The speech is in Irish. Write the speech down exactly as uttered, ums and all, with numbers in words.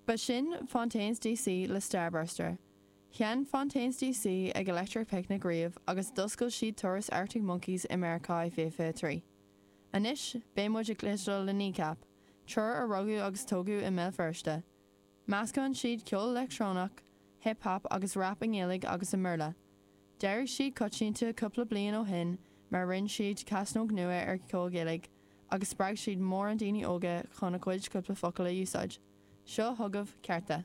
Ba sin Fontaines DC le Starburster. Sheinn Fontaines DC ag Electric Picnic riamh agus d'oscail siad turas Arctic Monkeys i Meiriceá i fiche trí. Anois beidh muid ag cloisteáil le Kneecap, triúr a rugadh agus tógadh i mBéal Feirste. Meascann siad ceol leictreonach, hip-hop agus rap i nGaeilge agus i mBéarla. D'éirigh siad coitianta cúpla bliain ó shin mar rinne siad casnóg nua ar ceol Gaeilge agus spreag siad mórán daoine óga chun a gcuid cúpla focal a úsáid. Seo chugaibh cearta.